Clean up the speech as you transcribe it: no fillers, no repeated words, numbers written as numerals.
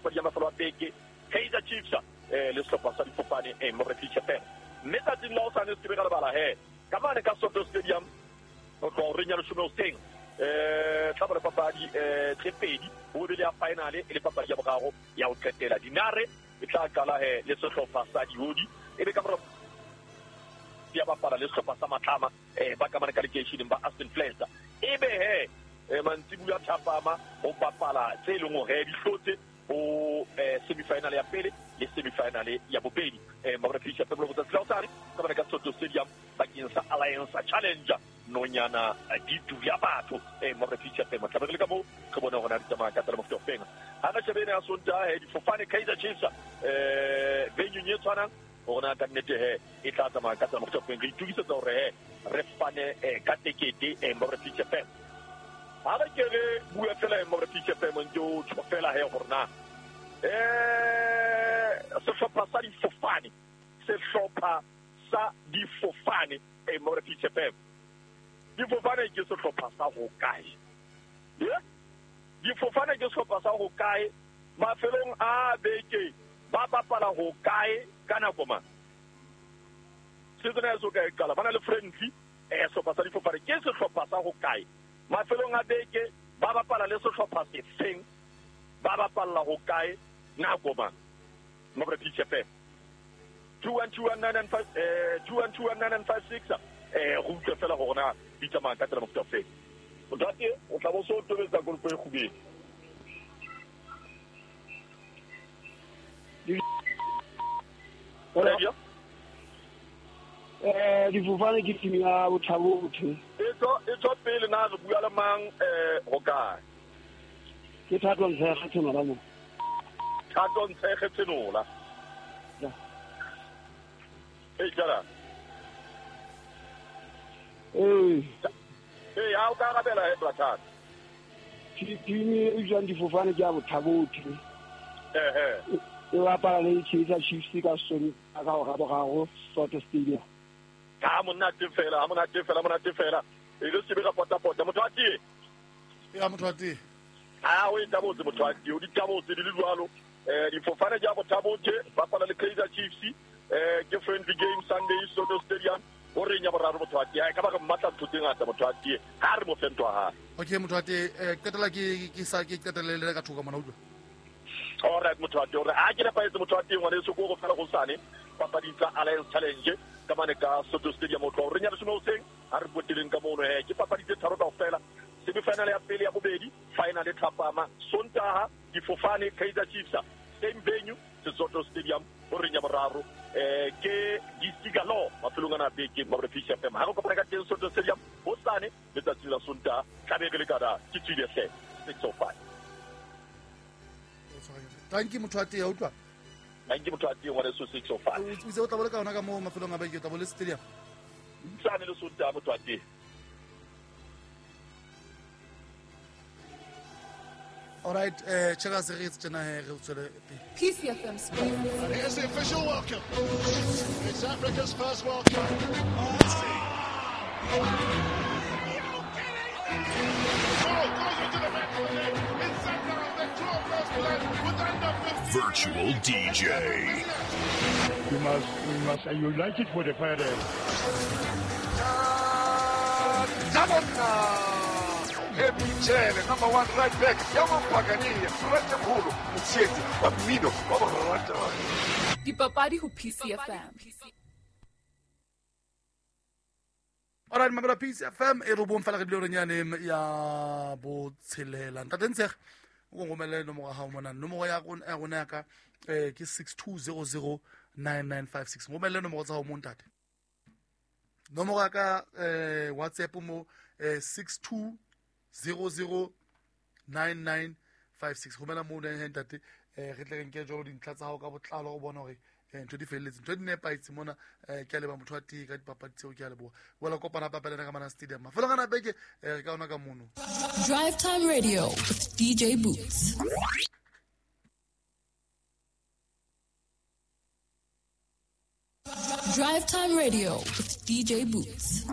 papadi ya mafelo a beke, Kaizer Chiefs le sehlopha sa difofane Morefisha FM. Mme tsatsing la hosane se ke be ka lebala he ka mane ka Soto Stadium ho tloha horeng ya leshome hoseng, tla ba le papadi tse pedi, ho be le ya finale e le papadi ya boraro ya ho qetela. Dinare e tla qala he le sehlopha sa Diodi, e be ka mora ya bapala le sehlopha sa Matlama ba ka mane ka lekeisheneng ba Aston Flats. E be he mantsibuya thapama ho bapala tse leng hore di hlotse ho semifinal ya pele le semifinal ya bobedi. Mabrefisha Pebolo botsatsi la hosane ka mane ka Soto Stadium bakeng sa Alliance Challenger nonyana di dula batho Mabrefisha Pebolo. Tla be re le ka moo re bone hore na di tsamaya ka tsela mofuta ofeng. Ha re shebe ena ya Sontaha he difofane Kaizer Chiefs venue e tshwanang hore na ka nnete he e tla tsamaya ka tsela mofuta ofeng. Re itokisetsa hore he re fane ka tekete Mabrefisha Pebolo. Ha re ke re bua fela Mabrefisha Pebolo ntse o tjho fela he hore na sehlopha sa difofane, sehlopha sa difofane Mabrefisha Pebolo. Difofane ke sehlopha sa ho kae? Difofane ke sehlopha sa ho kae? Mafelong a beke ba bapala ho kae ka nako mang? Season ya so kae qala ba na le friendly sehlopha sa difofane ke sehlopha sa ho kae? Mafelong a beke ba bapala le sehlopha sefeng? Ba bapalla ho kae nako mang? Mabrefisha FM 2121995 2121956 go utlwe fela gore na di tsamaya ka tsela mofuta ofeng. Ntate o tla bo so tobetsa kolpo e kgubedu. Difofane ke team ya Bothabothe. E tswa pele na re bua le mang ho kae? Ke Thato Ntshege Tsenola mo. Thato Ntshege Tsenola. Ya. E jala. Ha o ka arabela he Thato. Team e jwang difofane ke ya Bothabothe. E bapala le Kaizer Chiefs ka Sontaha ka hora boraro Soto Stadium. Ha monate fela, ha monate fela, monate fela. E re se be ra pota-pota. Motho a tie? Ya motho a tie. Ha o e tabotse motho a tie, o di tabotse di le jwalo. Difofane di a Bothabothe, bapala le Kaizer Chiefs. Ke friendly game Sunday Soto Stadium. O re nya boraro motho a tie. Ka ba re mmatla ntho tse ngata motho a tie. Ha re mo fe ntho ha. Okay motho a tie, qetela ke sa ke qetelle ka thoka mona utlwa. All right motho a tie, hore ha ke nepahetse motho a tie ngwana eso go fela go sane papading tsa Alliance Challenge ka mane ka Soto Stadium o tloha re nya leshome hoseng ha re poteleng ka mono he ke papadi tse tharo kaofela. Semifinal ya pele ya bobedi, final e thapama Sontaha difofane Kaizer Chiefs same venue Soto Stadium o re nya boraro ke Disigalo mafelong ana beke Mabrefisha FM. Ha re kopana ka teng Soto Stadium hosane letsatsi la Sontaha tla be re le kada ke tswile hle 6:05. Thank you motho a tee, utlwa. Thank you motho a tee ngwana so 6:05. O itse o tla bole ka yona ka mo mafelong a beke o tla bole stadium. Tsane le Sontaha motho a tee. All right, check us re tsena he re tswele pele. PCFM Sports. And here's the official welcome. It's Africa's first World Cup. Virtual DJ. We must unite it for the fire. Michele, number one right back. Dipapadi ho PCFM. All right, mamela PCFM e robong fela re dile re nyane ya botshelela. Ntate Ntshege o ngomele nomoro ya hao mona. Nomoro ya rona ya ka ke 62009956. Ngomele nomoro tsa hao mo ntate. Nomoro ya ka WhatsApp mo 62009956. Romela mo le ntate re tle re nke jalo dintlha tsa hao ka botlalo go bona hore ntho di felletse, ntho di nepahetse mona. Ke a leboha motho wa tee ka dipapadi tseo, ke a leboha. Wela kopana hape le ka mana stadium. Mafelong ana beke re ka ona ka mono. Drive Time Radio with DJ Boots. Drive Time Radio with DJ Boots.